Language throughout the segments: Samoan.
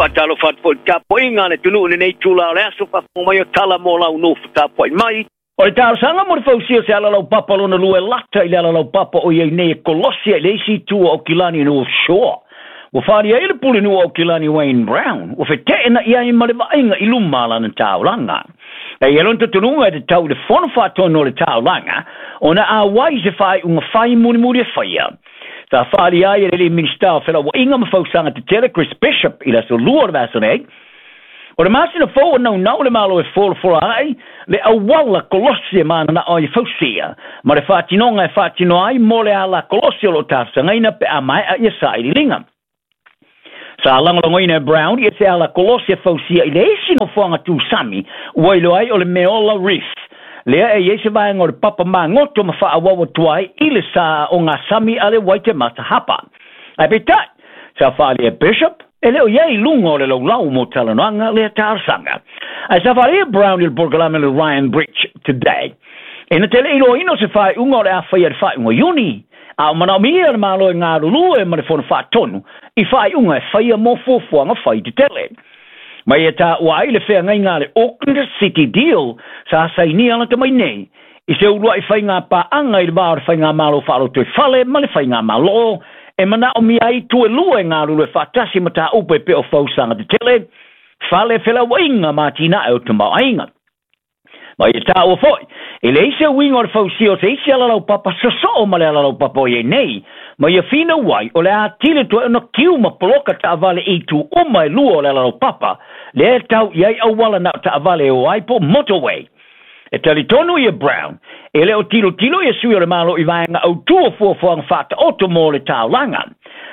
Faatalofa atu foi i le tapuaiga a le atunuu i lenei itula o le aso, faafofoga mai o tala mo lau nofo tapuai mai. O le talosaga mo le fausia o se alalaupapa lona lua e lata i le alalaupapa o i ai nei e kolosi ai le isi itu o Aukilani North Shore. Ua faaalia ai le pulenuu o Aukilani Wayne Brown, ua feteenai ai ma le vaaiga i luma a lana taulaga. E i ai lona talitonuga e tatau i le Fono Faatonu o le Taulaga ona auai i se faaiuga fai mulimuli e faia. Sa faaalia ai e le alii Minisita o Felauaiga ma Fausaga Tetele Chris Bishop i le aso Lua o le vaiaso nei, O le masina fou o naunau le Malo e folafola ai le auala kolosi e mananao ai e fausia ma le faatinoga e faatino ai mo le ala kolosi o lo o talosagaina pe a maea ia sailiiliga. Sa lagolagoina e Brown ia se ala kolosi e fausia i le isi nofoaga tūsami ua iloa ai o le Meola Reef, lea e i ai se vaega o le papa magoto ma faaauau atu ai i le sa o ngā sami a le Waitemata Hapa. Ae peitai, sa faaalia e Bishop, e le o i ai i luga o le laulau mo talanoaga lea talosaga. Ae sa faaalia e Brown i le polokalame le Ryan Bridge Today. E na te le iloaina o se faaiuga o le a faia i le faaiuga o Iuni, a o manaomia le Malo e galulue ma le Fono Faatonu i faaiuga e faia mo fuafuaga fai tetele. Mai e taua ai le feagaiga a le Auckland City Deal sa sainia lata mai nei i se uluai faiga paaga i le va o le Faigamalo Faalotoifale ma le Faigamalo e manaomia ai itu e lua e galulue faatasi mataupu e pei o fausaga tetele, fale felauaiga ma atinae o tamaoaiga. Ma ia taua foi, e leai se uiga o le fausia o se isi alalaupapa sosoo ma le alalaupapa o i ai nei, ma ia finau ai o le a atili toe ona kiu ma poloka taavale i itu uma e lua o le alalaupapa, lea e tau i ai auala na o taavale e o ai po o motorway. E talitonu ia Brown, e le o tilotilo ia sui o le Malo i vaega autū o fuafuaga faataoto mo le taulaga,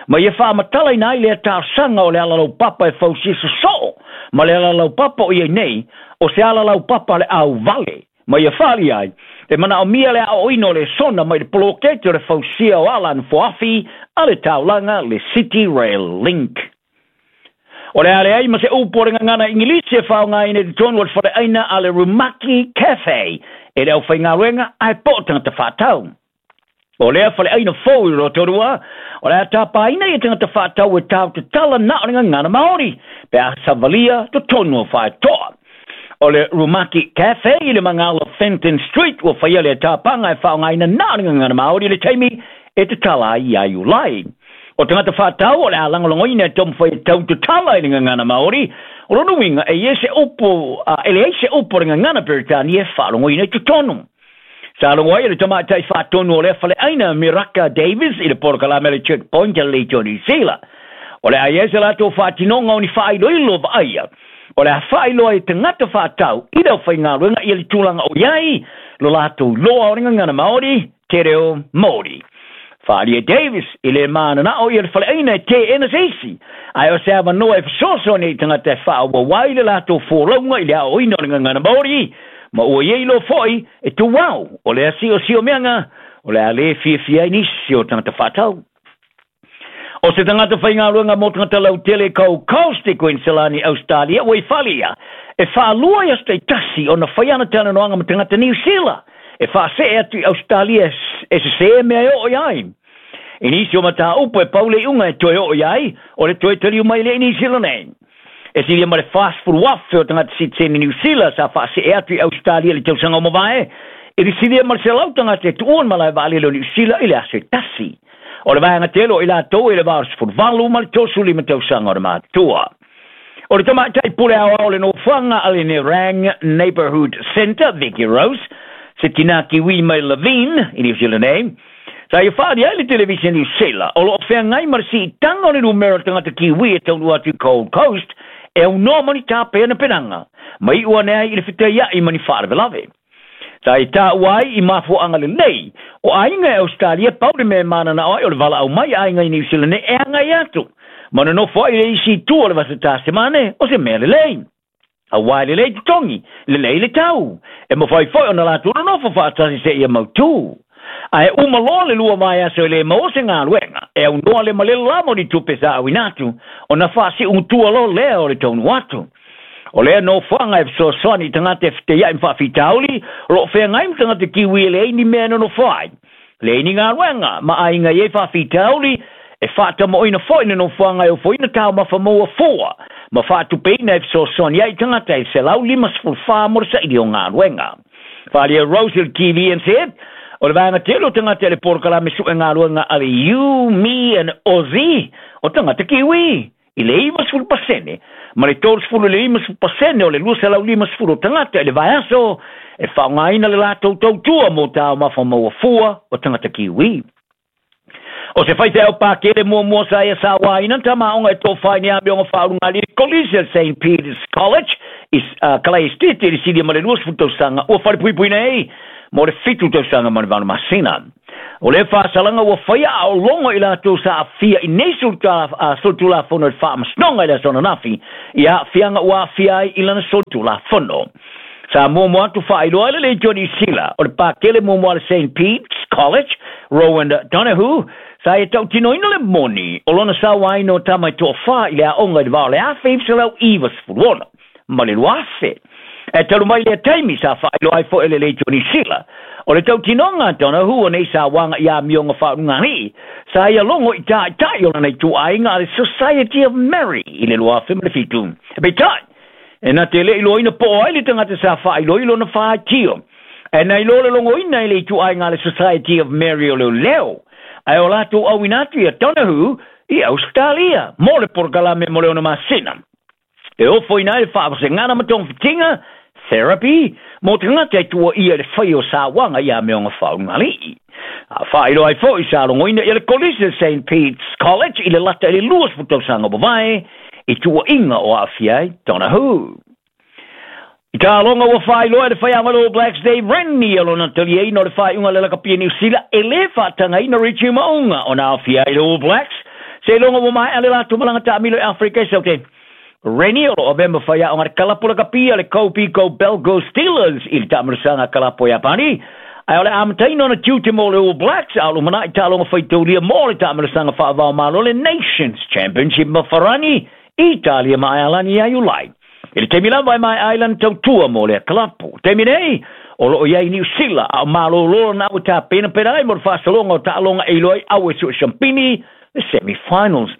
ma ia faamatalaina ai lea talosaga o le alalaupapa e fausia sosoo ma le alalaupapa o i ai nei, o se alalaupapa a le auvale, ma ia faalia ai, e manaomia le aoaoina o lesona mai le poloketi o le fausia o ala nofoafi a le taulaga le City Rail Link. O le a leai ma se upu o le gagana Igilisi e faaaogaina i totonu o le faleaina a le Rumaki Cafe e le aufaigaluega ae po o tagata faatau. O lea faleaina fou i Rotorua, o le a tapaina ia tagata faatau e tau tatala na o le gagana Maori pe a savalia totonu o Faetoa. O le Rumaki Cafe i le magala o Fenton Street ua faia lea tapaga e faaaogaina na o le gagana Maori i le taimi e tatala ai ia Iulai. O tagata faatau o le a lagolagoina e taumafai e tau tatala i le gagana Maori, o lona uiga e i ai se upu, e leai se upu o le gagana Peretania e faalogoina i totonu. Sa logo ai le tamaitai faatonu o lea faleaina Miraka Davis i le polokalame a le Checkpoint a le Leitio Niu Sila. O le a i ai se latou faatinoga o ni faailoilo vaaia, o le a faailoa i tagata faatau i le aufaigaluega ia le tulaga o i ai lo latou iloa o le gagana Maori, te reo Maori. Faaalia Davis i le mananao ia le faleaina e teena se isi, ae o se avanoa e fesoasoani ai i tagata e faaauau ai le latou folauga i le aoaoina o le gagana Maori, ma ua i ai loa foi e tuau o lea siosiomeaga o le a le fiafia ai nisi o tagata faatau. O se tagata faigaluega mo tagata lautele i Gold Coast i Queensland, Australia, ua i fale ia e faalua i aso taitasi ona fai ana talanoaga ma tagata Niu Sila e faasee atu i Australia e sesē mea e oo i ai. I nisi o mataupu e pau le iuga e toe oo i ai, o le toe taliu mai lea i Niu Sila nei. E silia ma le 40,000 o tagata sitiseni Niu Sila sa faasee atu i Ausetalia i le tausaga ua mavae, i le silia ma le 100 tagata e tuua le malae vaalele o Niu Sila i le aso e tasi. O le vaega tele o i latou e le va o le 18 ma le 35 tausaga o le matutua. O le tamaitai pule aoao o le nofoaga a le Nerang Neighbourhood Centre, Vicky Rose, se tinā Kiwi mai Levin i Niu Sila nei, Sa ia whaari ai le televisen Niu Sila, o lo o feagai ma le siitaga o le numera o tagata Kiwi e taunuu atu i Gold Coast, e aunoa ma ni tapeana penaga, ma iu ane ai i le fetaia'i ma ni faalavelave. Sa ia taua ai i mafuaaga lelei, o aiga e Ausetalia pau le mea e mananao ai o le valaau mai a aiga i Niu Sila nei e agai atu, ma nonofo ai i le isi itu o le Vasa Tasemane, o se mea lelei. Aua e lelei totogi, lelei le tau, e mafai foi ona latou nonofo faatasi seia mautū. Ae uma loa le lua vaiaso e le maua se galuega, e aunoa le malele lava o ni tupe sa auina atu, ona faasiugutua loa lea o le taunuu atu. O lea nofoaga e fesoasoani i tagata e feteiai ma faafitauli, o lo o feagai ma tagata Kiwi e leai ni mea e nonofo ai, leai ni galuega, ma aiga i ai faafitauli, E faatamoʻoina foi le nofoaga e ofoina taumafa maua fua ma faatupeina e fesoasoani ai tagata e 154 mo le saili o galuega. Faaalia Rose i le TVNZ, o le vaega tele o tagata i le polokalame suʻe galuega a le You, Me and Aussie o tagata Kiwi i le 90% ma le 30 i le 50% o le 250 o tagata i le vaiaso e faaaogaina le latou tautua mo taumafa maua fua o tagata Kiwi. O se faifeau pakele muamua sa ia sauāina tamāoga e tofa i ni amioga faaulugalii i le Kolisi a St Peter's College i Kalai Estate i le silia ma le 20 tausaga ua falepuipui nei mo le 7 tausaga ma le 8 masina. O lea faasalaga ua faia a o logo i latou sa aafia i nei solitulafono i le faamasinoga i le aso ananafi i aafiaga ua aafia ai i lana solitulafono. Sa muamua atu faailoa ai le Leitio Niu Sila o le pakele muamua a le St Pete's College, Rowan Donoghue, sa ia tautinoina le moni o lona sauaina o tama e toafa i le aoga i le va o le 1996 ma le 2000. E talu mai lea taimi sa faailoa ai foi e le Leitio Niu Sila o le tautinoga a Donoghue o nei sauaga i amioga faaulugalii sa ia logo i taʻitaʻi o lana ituaiga a le Society of Mary i le 2007. Peitai, e na te le iloaina po o ai le tagata sa faailoilo na faatio. E na iloa le logoina i le ituaiga a le Society of Mary o Leoleo, ae o latou auina atu ia Donoghue i Ausetalia mo le polokalame mo le 6 masina. E ofoina ai le faavasegana ma togafitiga, therapy, mo tagata e tuuaia i le fai o sauaga i amioga faaulugalii. A faailoa ai foi sa logoina ia le Kolisi o St Pete's College i le lata i le 20 tausaga ua mavae i tuuaiga o aafia ai Donoghue. I taaloga ua faailoa e le faiaoga le All Blacks Dave Rennie o lona taliaina o le faaiuga a le lakapi a Niu Sila e lē faatagaina Richie Mo'unga ona aofia ai le All Blacks seiloga ua maea le latou malaga taamilo i Afrika e Saute. Rennie o loo avea ma faiaoga le kalapo lakapi a le Kobe Go Belgo Steelers i le taamilosaga kalapo Iapani, ae o le amataina ona tiute mo le All Blacks a o lumanai taaloga faitaulia mo le taamilosaga faavaomalo le Nations Championship ma Farani, Italia ma Aealani ia Iulai. I le taimi lava e maea ai lana tautua mo lea kalapo. Taimi nei, o loo i ai Niu Sila a o malōlō lana au e tapenapena ai mo le faasologa o taaloga e iloa ai au e sue siampini le semi-finals.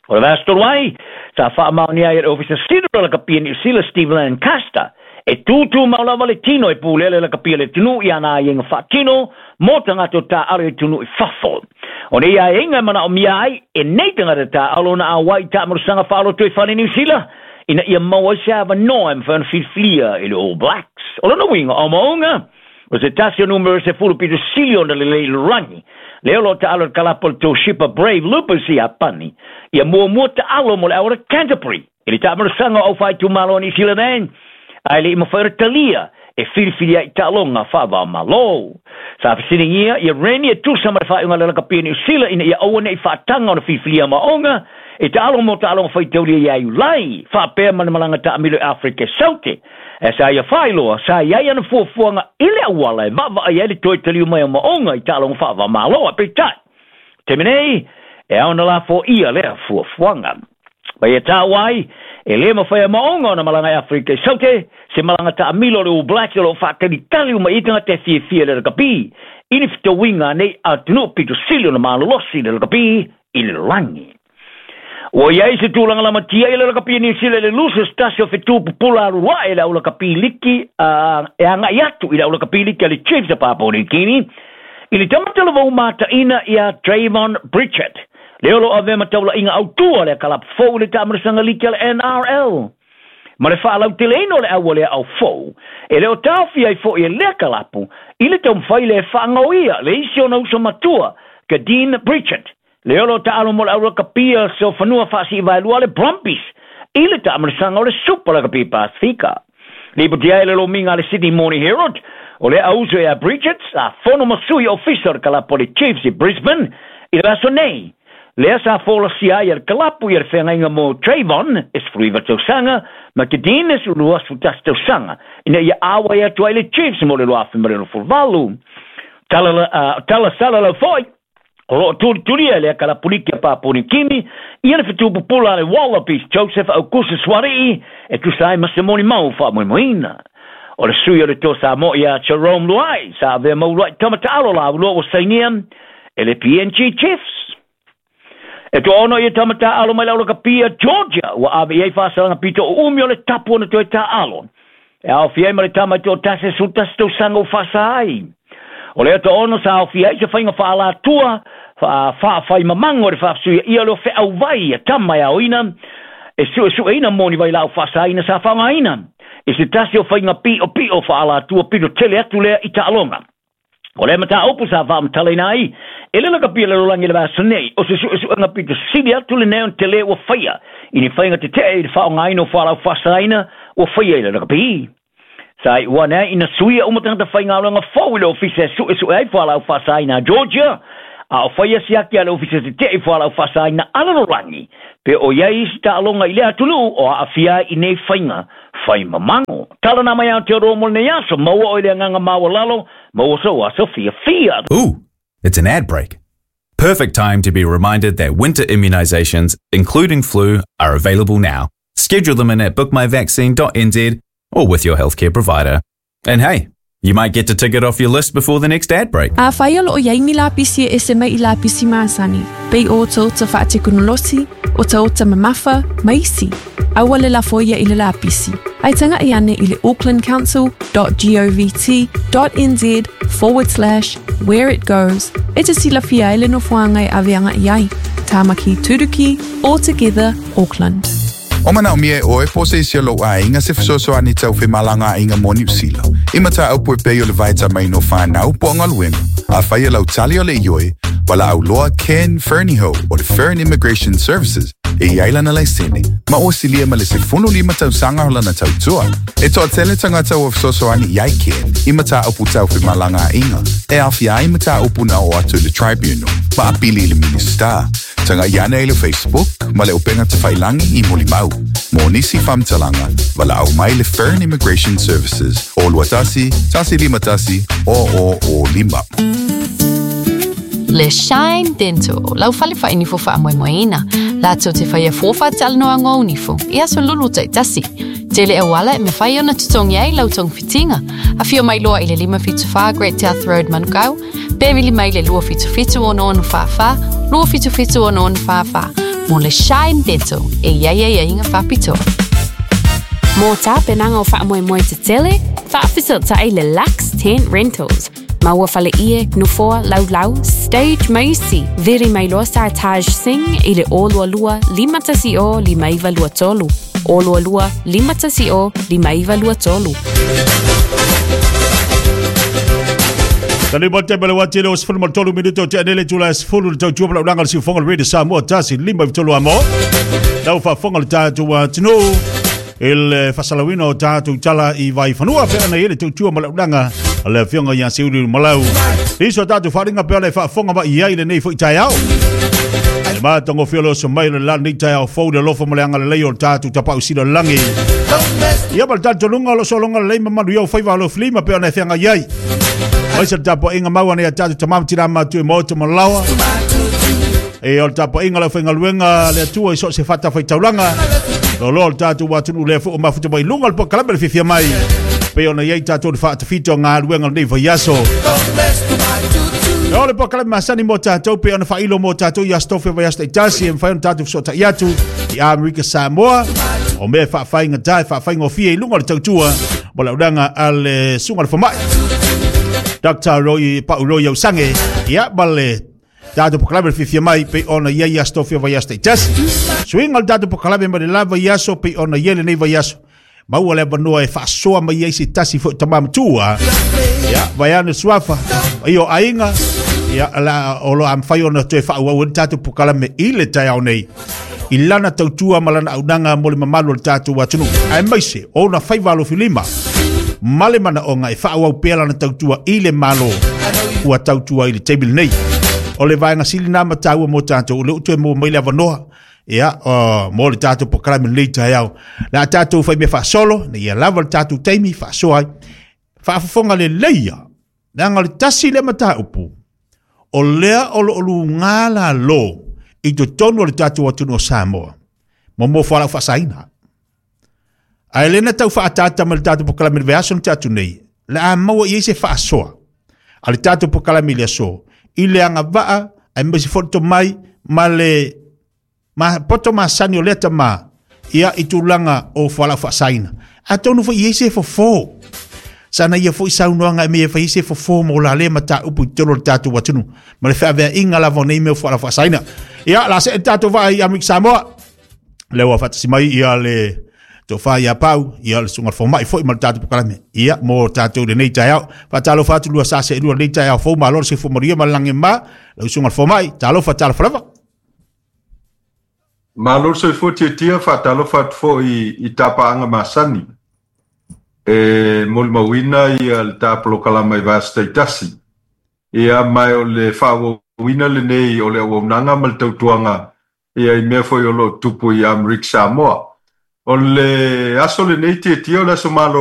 O le vaiaso talu ai, sa faamaonia ai e le Ofisa Sili o le Lakapi a Niu Sila Steve Lancaster e tūtūmau lava le tino e pulea le lakapi a le atunuu i ana aiaiga faatino mo tagata o taaalo i atunuu i fafo. O nei aiaiga e manaomia ai e nei tagata taaalo ona auai i taamalosaga faaloto i fale Niu Sila ina ia maua ai se avanoa e mafai ona filifilia e le All Blacks. O lona uiga o maunga, o se tasi o numera 10 pito sili ona lelei i le lalolagi, lea o loo taalo i le kalapo o le Toshiba Brave Lupus i Iapani, ia muamua taalo mo le au o le Canterbury i le taamalosaga o aufaitumalo a Niu Sila nei, ae le i mafai ona talia e filifili ai i taaloga faavaomalo. Sa fesiligia ia Rennie e tusa ma le faaiuga a le lakapi a Niu Sila ina ia aua ne i faataga ona filifilia maoga e taalo mo taaloga faitaulia ia Iulai, faapea ma le malaga taamilo i Afrika e Saute. E sa ia faailoa, sa i ai ana fuafuaga i le auala e vaavaai ai le toe taliu mai o maoga i taaloga faavaomalo, ae peitai, taimi nei, e ao ona lafoia lea fuafuaga. Ma ia taua ai, e lē mafai e maoga ona malaga i Afrika i Saute, se malaga taamilo a le All Blacks o loo faatalitali uma i ai tagata e fiafia i le lakapi i ni fetauiga a nei atunuu pito sili ona malolosi i le lakapi i le lalolagi. Ua i ai se tulaga lamatia i le lakapi a Niu Sila i le Losers tasi o fetu pupula alu ae i le au lakapi liki e agai atu i le au lakapi liki a le Chiefs a Papua New Guinea i le tamata lava umataʻina iā Trayvon Pritchard, lea o loo avea ma taulaiga autū a lea kalapu fou i le taamilosaga liki a le NRL. Ma le faalauteleina o le au a lea au fou, e le o taofia ai foi e lea kalapu i le taumafai lea e faagaoia le isi ona uso matua, Kadeen Pritchard, lea o loo taalo mo le au lakapia o fanua faasiivaelua a le Brumbies i le taamilosaga o le Super Lakapi Pasifika. Lipotia ai le lomiga a le Sydney Morning Herald, o lea auso ia Pritchard sa fono ma sui ofisa o le kalapu a le Chiefs i Brisbane i le aso nei, lea sa folasia ai e le kalapu ia le feagaiga mo Trayvon e 19 tausaga ma Kadeen e 21 tausaga ina ia auai atu ai le Chiefs mo le 2018. Tala, tala salalau foi, o loo tulitulia e lea kalapuliki a Papua Niu Kini ia le fetu pupula a le Wallabies Joseph Aukusa Suarii e tusa ai ma se molimau faamoemoeina. O le sui o le Toa Samoa ia Jarome Luai sa avea ma uluai tama taalo laulua ua sainia e le PNG Chiefs. E toaono ia tama taaalo mai le aulakapia Georgia ua ave i ai faasalaga pito uumi o le tapu ona toe taaalo. E aofia ai ma le tama e toatasi e 11 tausaga ua faasa ai. O lea toaono sa aofia ai se faiga faalatua faafaimamago i le faafesuiaia o le feauvai a tama e aoina e suesueina mo ni vailaau faasaina sa faaaogaina i se tasi o faiga piopio faalatua pito tele atu lea i taaloga. O lea mataupu sa faamatalaina ai e le lakapia le lalolagi i le vaiaso nei, o se suesuega pito sili atu lenei ona tele ua faia i ni faiga tetee i le faaaogaina o fualaau faasaina ua faia i le lakapi. Sa iu ane ai ina suia uma tagata faigaluega fou i le ofisa e suesue ai fualaau faasaina a Georgia, a o faia siaki a le ofisa tetee i fualaau faasaina a lalolagi, pe o i ai isi taaloga i lea atunuu o aafia ai i nei faiga faimamago. Tala na mai Aotearoa mo lenei aso, maua oe i le agaga maualalo, maua sou aso fiafia. Ooh, it's an ad break. Perfect time to be reminded that winter immunizations, including flu, are available now. Schedule them in at bookmyvaccine.nz or with your healthcare provider. And hey, you might get to tick it off your list before the next ad break. Afai o lo o i ai ni lapisi e ese mai i lapisi masani, pei o otaota faatekonolosi, otaota mamafa, ma isi, aua le lafo ia i le lapisi. Ae taga'i ane i le aucklandcouncil.govt.nz forward slash where it goes e te silafia ai le nofoaga e ave aga'i ai. Tāmaki Turuki, All Together, Auckland. O manaomia e ʻoe po o se isi o lou aiga se fesoasoani tau femalagaaiga mo Niu Sila, i mataupu e pei o le vaetamaina o fanau po o galuega. Afai e lau tali o le ioe, valaau loa Ken Fernihough o le Fern Immigration Services e i ai lana laisene, ma ua silia ma le 15 tausaga o lana tautua. E toatele tagata ua fesoasoani i ai Ken i mataupu tau femalagaaiga, e aofia ai mataupu na oo atu i le Tribunal ma apili i le Minisita. Taga'i ane i le Facebook ma le upega tafailagi i Molimau. Mo nisi faamatalaga, valaau mai le Fern Immigration Services o 21 151 0005. Le Shine Dental, lau fale faainifo faamoemoeina, latou te faia fua faatalanoaga o nifo i aso lulu taitasi. Tele auala e mafai ona totogi ai lau togafitiga. Afio mai loa i le 574 Great South Road Manukau, pe vili mai le 277 6644, 277 6644 mo le Shine Dental e i ai aiaiga faapitoa. Mō tapenaga o faamoemoe tetele, faafesootai le Lux Tent Rentals. Maua fale ie, nofoa, laulau, stage ma isi. Vili mai loa Sartaj Singh i le 022 510 5923. 022 510 5923. Tali mo te mele wati le o sefulu ma le tolu minute o te anele tula e sefulu le tautua ma laulanga le siufonga le Radio Samoa tasi lima i tolu amo. Lau faafofoga le tatou atunuu i le faasalauina o tatou tala i Vaifanua pe ana i le tautua ma laulanga a le afioga ia Seuliuli Malau. Iso o tatou faaaliga pe ana e faafofoga mai i ai lenei foi taeao. Le matagofie o le oso mai o le la lenei taeao fou le alofa ma le agalelei o le tatou tapau sila lagi. Ia ma le talitonuga o lo sologa lelei ma manuia o faiva o lo filima pe ona e feagai ai. Mai se le tapuaiga mau ana ia tatou tama ma tina matua i maota ma laoa. E o le tapuaiga lau faigaluega le Atua i so o se fatafaitaulaga. Loaloa o le tatou atunuu lea foi o mafuta mai luga o le polokalame le fiafia mai. Pei ona i ai tatou le faatafita o galuega o lenei vaiaso. O le polokalame masani mo tatou pei ona faailo mo tatou i aso tofi o vaiaso taitasi e mafai ona tatou fesootai atu i Amerika Samoa. O mea e faafaigata e faafaigofie i luga o le tautua mo le aunaga a le susuga i le fomai Dr. Roy Pau Roy Ausange ia ma le tatou polokalame le fiafia mai pei ona i ai aso tofi o vaiaso taitasi. Suiga o le tatou polokalame mai le la vaiaso pei ona i ai lenei vaiaso. Maua le avanoa e faasoa mai ai se tasi foi tama matua. Ia, vaeane suafa, i o aiga, ia, la, o lo a mafai ona toe faaauau ai le tatou polokalame i le taeao nei. I lana tautua ma lana aunaga mo le mamalu o le tatou atunuu, aemaise o ona faiva alofilima ma le manaoga e faaauau pea lana tautua i le Malo ua tautua i le taimi lenei. O le vaega sili lena ma taua mo tatou, o lea ua toe maua mai le avanoa ia, mo le tatou polokalame lenei taeao. Le a tatou fai mea faasolo, ina ia lava le tatou taimi faasoa ai. Faafofoga lelei ia, leaga o le tasi lea mataupu, o lea o lo o luga lalo i totonu o le tatou atunuu o Samoa, mo fualaau faasaina. Ae le na tau faaataata mai le tatou polokalame i le vaiaso na tea atu nei, le a maua i ai se faasoa a le tatou polokalame i le aso, i le agavaa aemaise foi le tomai ma le Ma poto masani o lea tamā, ia i tulaga o fualaau faasaina. Atonu foi i ai se fofo. Sana ia foi saunoaga e mea e fai ai se fofo mo la lea mataupu i totonu o le tatou atunuu ma le feaveaiga lava o nei mea o fualaau faasaina. Ia, la see le tatou vaa i Amerika Samoa. Lea ua faatasi mai ia le tofa ia Pau, ia le susuga fomai foi ma le tatou polokalame. Ia, mo tatou lenei taeao. Faatalofa atu lua sa seelua lenei taeao fou, malo le soifua manuia ma le lagi e mama. Lau susuga fomai, talofa, talofa lava. Malo le soifua tiatia, faatalofa atu foi i tapaaga masani. E molimauina ia le ta polokalama i vaiaso taitasi. Ia ma o le faaauauina lenei o le auaunaga ma le tautuaga ia i mea foi o lo o tupu i Amerika Samoa. O le aso lenei tiatia o le aso malolo.